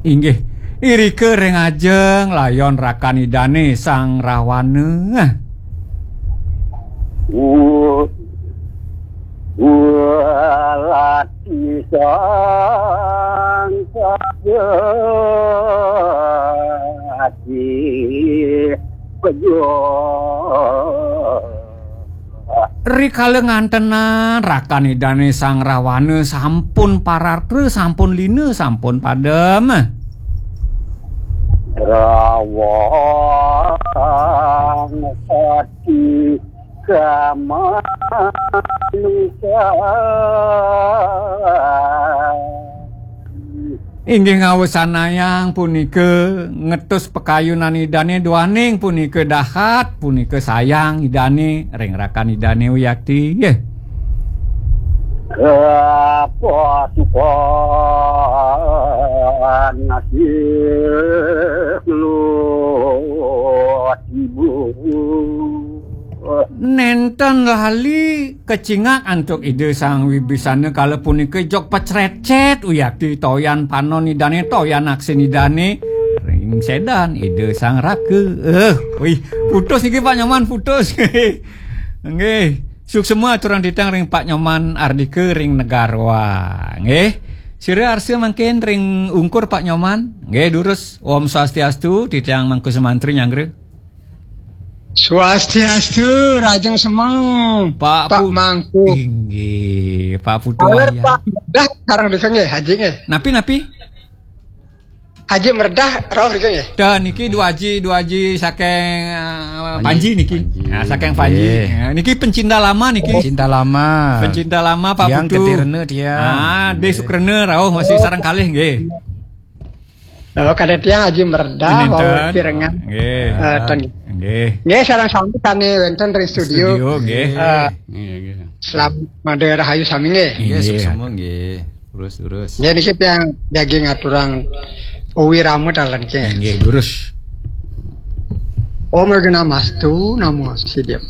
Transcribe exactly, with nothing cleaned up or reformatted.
Inggih, irika ring ajeng layon rakan Idane Sang Rawana. U-, ulati sang kajati pejo. Rikala ngantenan rakan Idane Sang Rawana sampun pararta, sampun lina, sampun padem. Rawang sati kamanusa. Inggih ngawesanayang punika ngetus pakayunan Idane duaning punika dahat, punika sayang Idane ring rakan Idane uyakti, nggih. Kapasukan nasih lu tibu. Nenten lali kacingak antuk Ida Sang Wibisana kala punika jog pacrecet uyakti toyan panon Idane, toyan aksin Idane ring sedan Ida Sang Raka. Eh, wih, putus niki Pak Nyoman, putus. Nggih, suksema aturang titiang ring Pak Nyoman Ardika ring Negaroa. Nggih. Sira arsa mangkin ring ungkur Pak Nyoman. Nggih, durus. Om Swastiastu, titiang Mangku Sumantri nyanggra. Swastiastu, rajeng semeng, Pak Pak Pu-, Mangku. Inggih, Pak Putu Aler, Wayah. Pak Mredah, sareng rika nggih, Haji nggih. Napi, napi? Haji Mredah, rauh rika nggih. Dah, niki dua Haji, dua Haji saking, eh, Panji. Panji niki. Panji. Nah, saking Panji. Nggih. Nah, niki pencinta lama niki. Pencinta lama. Pencinta lama, Pak Tiang Putu. Ketirna tiang. Ah, Deh Nggih. Sukrena rauh masih sareng kalih nggih. Lalu kada tiang Haji Mredah, Nenten. Wau Pirengan. Nggih. Eh, ten. Nggih. Nggih, sareng sami kami wenten ring studio. Studio, nggih. Eh, Nggih, nggih. Selamat mada rahayu sami nggih. Nggih, Nggih. Suksema nggih. Terus, terus. Nggih, niki tiang jagi ngaturang wirama taler niki. Nggih, durus. Om Awighnamastu, Namo Siddham.